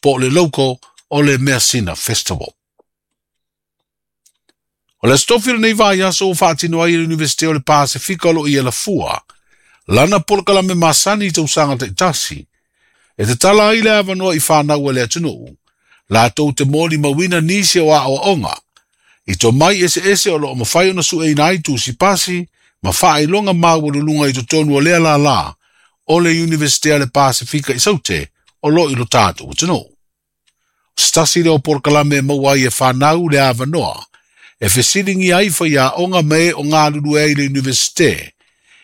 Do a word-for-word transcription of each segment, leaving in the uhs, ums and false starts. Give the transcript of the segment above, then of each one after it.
Po o le local o le Measina Festival. O le Aso Tofi o lenei vaiaso ua faatino ai e le Iunivesite o le Pasefika o lo o i Alafua, lana polokalame masani i tausaga taitasi, e tatala ai le avanoa i fanau a le atunuu, latou te molimauina nisi o aoaoga, i tomai eseese o lo o mafai ona sueina ai tusipasi ma faailoga maualuluga i totonu o lea lala o le Iunivesite a le Pasefika i Saute o lo o i lo tatou atunuu. O se tasi lea o polokalame e maua ai e fanau le avanoa, e fesiligia ai faiaoga ma e o galulue ai i le Iunivesite,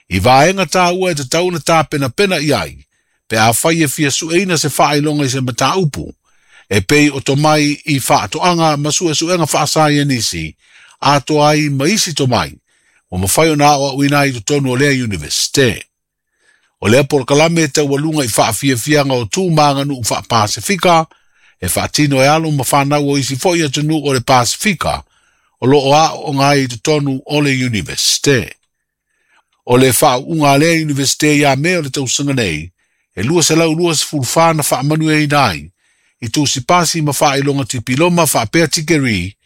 i vaega taua e tatau ona tapenapena i ai, pe afai e fia sueina se faailoga i se mataupu, e pei o tomai i faatoaga ma suesuega faasaienisi, atoa ai ma isi tomai, ua mafai ona aoaoina ai i totonu o lea Iunivesite. O lea polokalame e taualuga i faafiafiaga o tu ma aganuu faapasifika, e faatino e alo ma fanau o isi foi atunuu o le Pasifika, o lo o aooga ai i totonu o le Iunivesite. O le faauuga a lea Iunivesite ia Me o le tausaga nei, e lua selau lua sefulu fa na faamanuiaina ai, i tusipasi ma faailoga tipiloma faapea tikeri,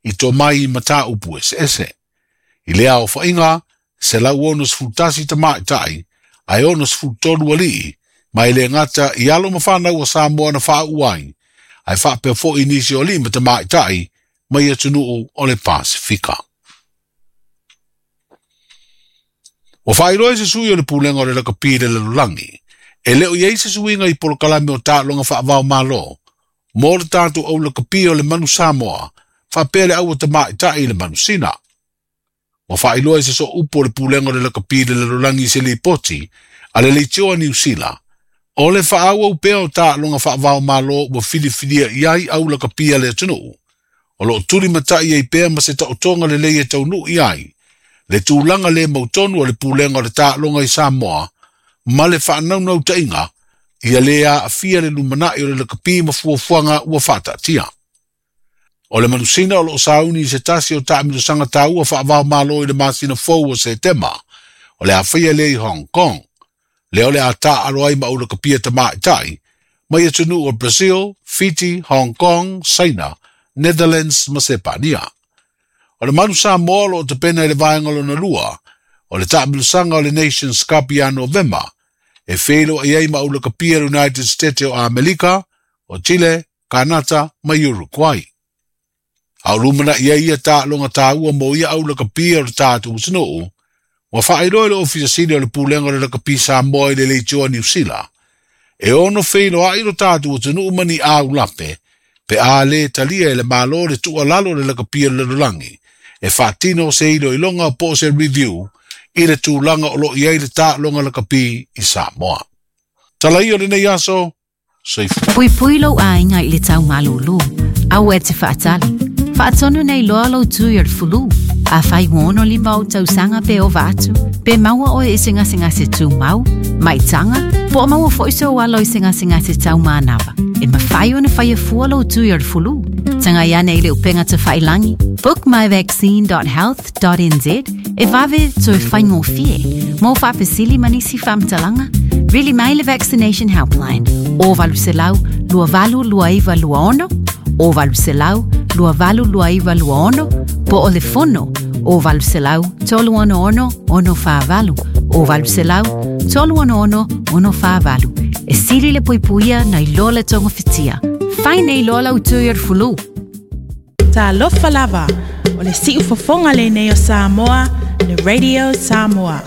i tomai i mataupu eseese. I lea aofaiga, selau ono sefulu tasi tamaitai, ae ono sefulu tolu alii, ma e le gata i alo ma fanau a Samoa na faauu ai, ae faapea foi nisi o alii ma tamaitai mai atunuu o le Pasifika. Ua faailoa e se sui o le pulega o le lakapi i le lalolagi, e le o i ai se suiga i polokalame o taaloga faavao malo, mo le tatou au lakapi o le manu Samoa, faapea le aua tamaitai i le manu Sina. Ua faailoa e se sooupu o le pulega o le lakapi i le lalolagi i se lipoti a le leitioa Niu Sila, o le faaauau pea o taaloga faavao malo ua filifilia i ai au lakapi a le atunuu, o lo o tulimatai ai pea ma se taotoga lelei e taunuu i ai, le tulaga le mautonu o le pulega o le taaloga i Samoa, ma le faanaunautaiga, ia le aafia le lumanai o le lakapi ma fuafuaga ua faataatia. O le manusina o lo o sauni i se tasi o taamilosaga taua faavao malo i le masina fou o Setema, o le a faia lea i Hong Kong, lea o le a taalo ai ma aulakapia tamaitai, mai atunuu o Brazil, Fiti, Hong Kong, Saina, Netherlands ma Sepania. O le manu Samoa o lo o tapena i le vaega lona lua, o le taamilosaga o le Nations Cup ia Novema, e feiloai ai ma aulakapia le United States o Amerika, o Chile, Kanata ma Uruguay. A o lumanai ai ia taaloga taua mo ia aulakapia o le tatou atunuu, ua faailoa i le Ofisa Sili o le Pulega o le Lakapi Samoa i le leitioa Niu Sila, e ono feiloai lo tatou atunuu ma ni aulape, pe a le talia e le malo le tuualalo o le lakapi o le lalolagi, e faatino se iloiloga po o se review i le tulaga o lo o i ai le taaloga lakapi i Samoa. Tala ia o lenei aso, soifua. Puipui lou aiga i le taumalūlū, aua e te faatali. Faatonu nei loa lou tui o le fulu. Afai ua ono lima ou tausaga pe ova atu, pe maua oe i se gasegase tumau, maitaga, po o maua foi sou alo i se gasegase taumanava. E mafai ona faia fua lou tui o le fulu. Tagai ane i le upega tafailagi, book my vaccine dot health dot n z e vave toe faigofie. Mo faafesili ma nisi faamatalaga, vili mai le Vaccination Helpline o valu selau lua valu lua iva lua ono, o valu selau lua valu lua iva lua ono, po o le fono o valu selau tolu ono ono ono whaavalu, o valu selau tolu ono ono ono whaavalu. E sili le puipuia nei loa le togafitiga. Fai nei loa lau tui o le fulu. Talofa lava, o le siufofoga lenei o Samoa, le Radio Samoa.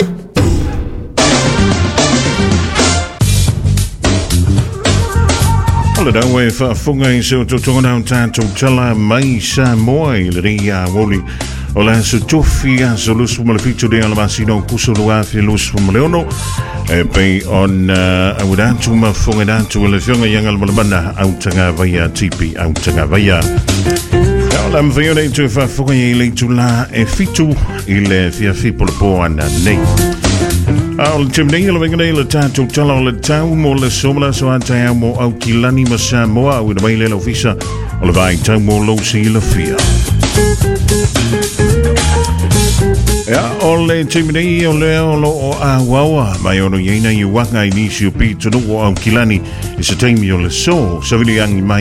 O le dawe faafofoga i se o totoga nau tātou tala mai Samoa i le rei a woli. O le aso tofi aso lusu ma le fitu lea le masina o kuso lua afi lusu ma le ono. E pei ona awiratu ma fonga datu e le fionga i angal malamana au tanga vaia tipi au tanga vaia. Ia o la mwhai o tu faafofoga i le tula e fitu i le fiafi polapoa ana nei. A o le tēmnei le venga nei le tātou tala o le tau mo le somala so a te au mo au kilani ma Samoa au ina mai le ofisa o le vai tau mo lo si le fia. Ia, o le taimi nei o lea o loo auaua mai ono i ai nai uaga i nisi o pitonuu o Aukilani i se taimi o le so savili agi mai.